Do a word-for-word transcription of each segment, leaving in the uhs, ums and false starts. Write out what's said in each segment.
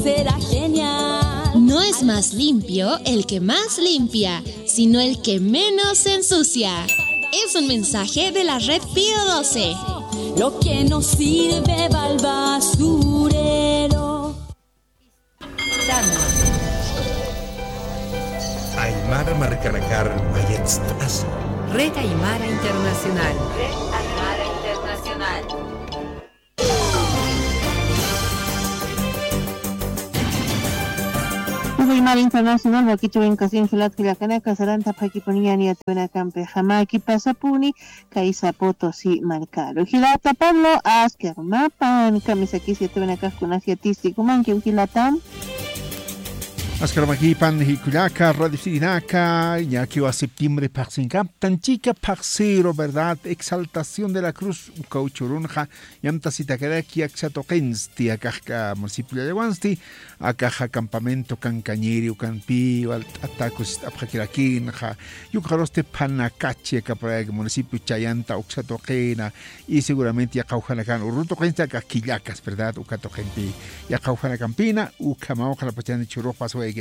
Será genial. No es más limpio el que más limpia, sino el que menos se ensucia. Es un mensaje de la red Pío doce. Lo que no sirve va al basurero. Aymara markanakar mayatst'asa. Red Aymara Internacional. Red Aymara Internacional. Red Aymara Internacional, wakichwin kasin jilat jilakanaka, saranta phakipuniyani yatwinakampi, jamakipasapuni, kaysa Potosí markaru. Jilata Pablo, askirmapan, kamisakis yatwinakax kunas yatisti, jumankiw jilata. Askirmakipan, jikullaka, radiosinaka, ñakiwa septiembre phaxsinkaptan, chika phaxsiru, ¿verdad? Exaltación de la Cruz, ukaw churunxa, yamtasitakaraki aksa tuqinsti, akax municipio Llallawansti, akaxa campamento Kankañiri ukanpi, walt'ata kusist'apxakirakinxa, yukxarusti Phanakachi, aka por ahí municipio Chayanta uksa tuqina, y seguramente yaqhawjanakan urru tuqinsti, akax killakas, ¿verdad? Uka tuqinpi, yaqhawjanakampina, ukhamaw qhanapachani churux pasawayakirakinxa.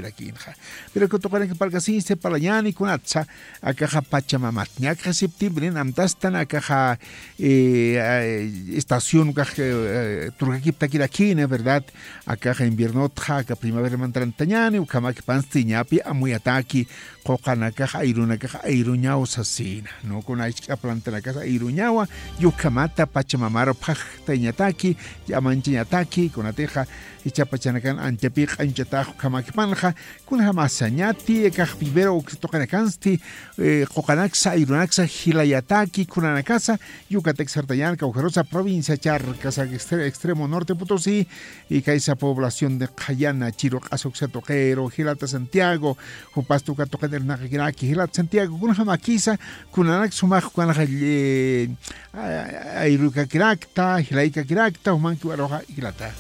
Pero uka tuqinaka parlkasinsti parlañani kunatsa, akaxa Pachamamat. Ñakxa septiembre, amtastan akaxa, eh, eh, estación ukax, eh, turkakiptakirakina, ¿verdad? Akaxa inviernotxa, aka primavera mantarantañani, ukhamakipansti ñapi amuyataki, quqanakax, ayrunakax, ayruñaw sasina, ¿no? Kuna isk'a plantanakas ayruñawa, yukhamata Pachamamaru phaxtañataki, amanchañataki, kunatixa, ichapachanakan anchapi q'añchatax ukhamakipanxa, kunjamasa, ñati, akax vivero uksa tuqinakansti, eh, quqanaksa, ayrunaksa, jilayataki, kunanakasa, Yucatec sartañan, kawkharusa provincia charkasa, extre-, extremo norte Potosí, y kaysa población de Qhayana, Chiru Q'asa uksa tuqiru, jilata Santiago, jupasti uka tuqin irnaqakiraki, jilata Santiago, kunjamakisa, kunanak sumax, kunanaxa, eh, a-, ayrukakirakta, jilaykakirakta, jumankiw aruxa, jilata.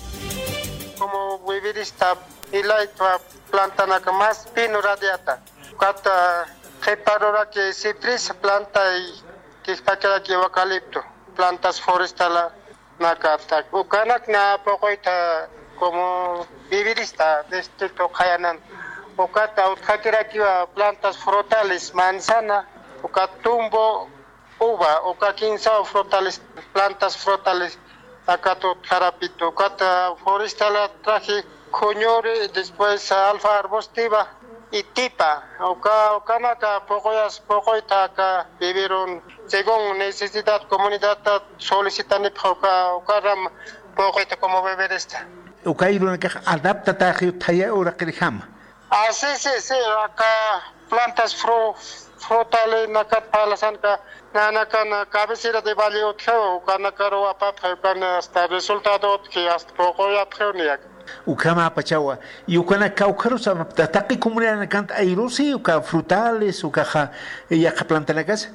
Como vivirista, jilayta plantanaka más pino radiata. Ukat qhiparuraki ciprés planta y qhipakaraki eucalipto, plantas forestalanakata. Ukanak na puquyta como vivirista distrito Qhayanan. Ukat utjakirakiwa plantas frutales, manzana, ukat tumbo, uva, uka kinsa frutales, plantas frutales, akatut jarapito, ukat, ah, forestala traje, khuñuri, después, ah, alfa arbustiva y tipa, uka, ukanaka puquyas, puquyta aka vivirun, según necesidad comunidadta solicitanipxa uka, ukaram puquyta como vivirista. Uka ayrunakax adaptataxi thaya uraqirjama. Ah, sí, sí, sí, aka plantas fru-, frutales nakat parlasanka, nanakan cabecera de valle utjiw, ukanakaru apapxi, ukan hasta resultado utji, hasta puquyapxiw niyak. Ukhamapachawa, y ukanak kawkharus apapta, taqi comunidadanakanti ayrusi, uka frutales, ukaxa, yaqha plantanakas?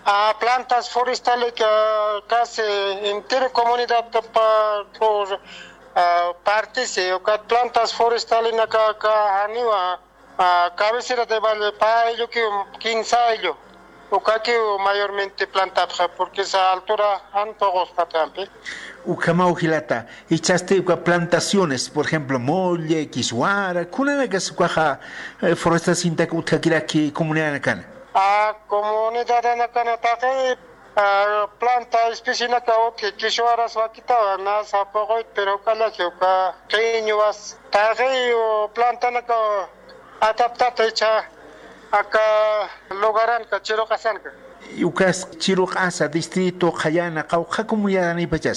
Ah, plantas forestales que casi entero comunidad pa-, por, ah, partisi, ukat plantas forestales naka, ka janiwa, ah, cabecera de valle, pä ayllukiw, kinsa ayllu. Ukakiw mayormente plantapxi, porque esa altura jan puquspatampi. Ukhamaw jilata, jichhasti uka plantaciones, por ejemplo, molle, kiswara, kunanakas ukaxa, eh, forestasintak utjakiraki comunidadanakan. Ah, comunidadanakan taqi, ah, planta especienaka utji, kiswaras wakitawa, nasa puquyt, pero ukallaji uka qiñwas, taqi, uh, plantanaka adaptata jichha aka lugaranka, Chiru Q'asanka. Ukas Chiru Q'asa, distrito Qhayana, qawqha comunidadanipacha.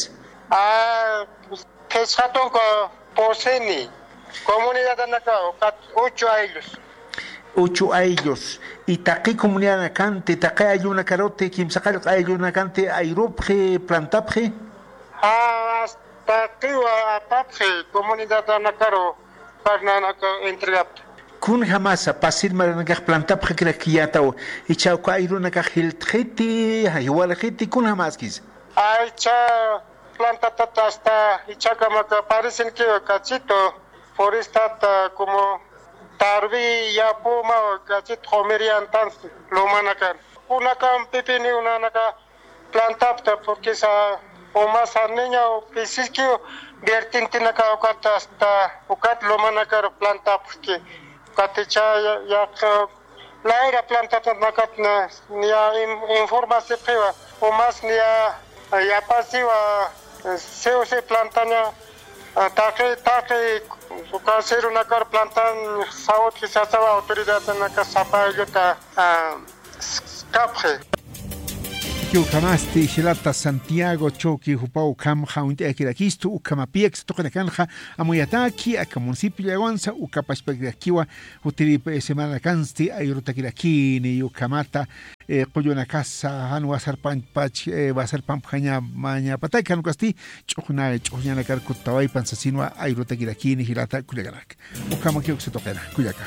Ah, phisqa tunka pusini, comunidadanaka, ukat ocho ayllus. Ocho ayllus. Y taqi comunidadanakanti, taqi ayllunakaruti, kimsaqallq ayllunakanti, ayrupxi, plantapxi. Ah, taqiwa apapxi, comunidadanakaru, parnanaka entregapta. Kunjamasa, pasir maranakax plantapxakirakiyätaw, jichha uka ayrunakax jiltxiti, jiwarxiti, kunjamaskis. Ay, jichha plantatata hasta jichhakamaka parecenkiwa kachito, forestata como tarwi yapuma kachit q'umiriyantan lumanakan. Kunakan pipini unanaka plantapta, porque sa umas niña pisiskiw vertientenaka ukat hasta ukat lomanakar plantapxki. Ukat icha ya, ya, layra plantatanakatna niya in- informasipxiwa umas niya yapasiwa. Siw si plantaña taqi taqi uka sirunakar plantan sawut jisasawa autoridadanaka sapa aylluta kapxi. Ukhamasti jilata Santiago Choque jupaw ukham jawint'ayakirakistu ukhamapiyak satuqinakanxa amuyataki aka municipio llawansa uka pachpakirakiwa. Jutiri semanakansti ayrutakirakini ukhamata qullunakasa jan wasarpanpach wasarpanpxañamañapataki jan ukasti ch'uxna ch'uxñanakar kuttawaypan sasinwa ayrutakirakini jilata kullakanaka. Ukhamakiw satuqina kullaka.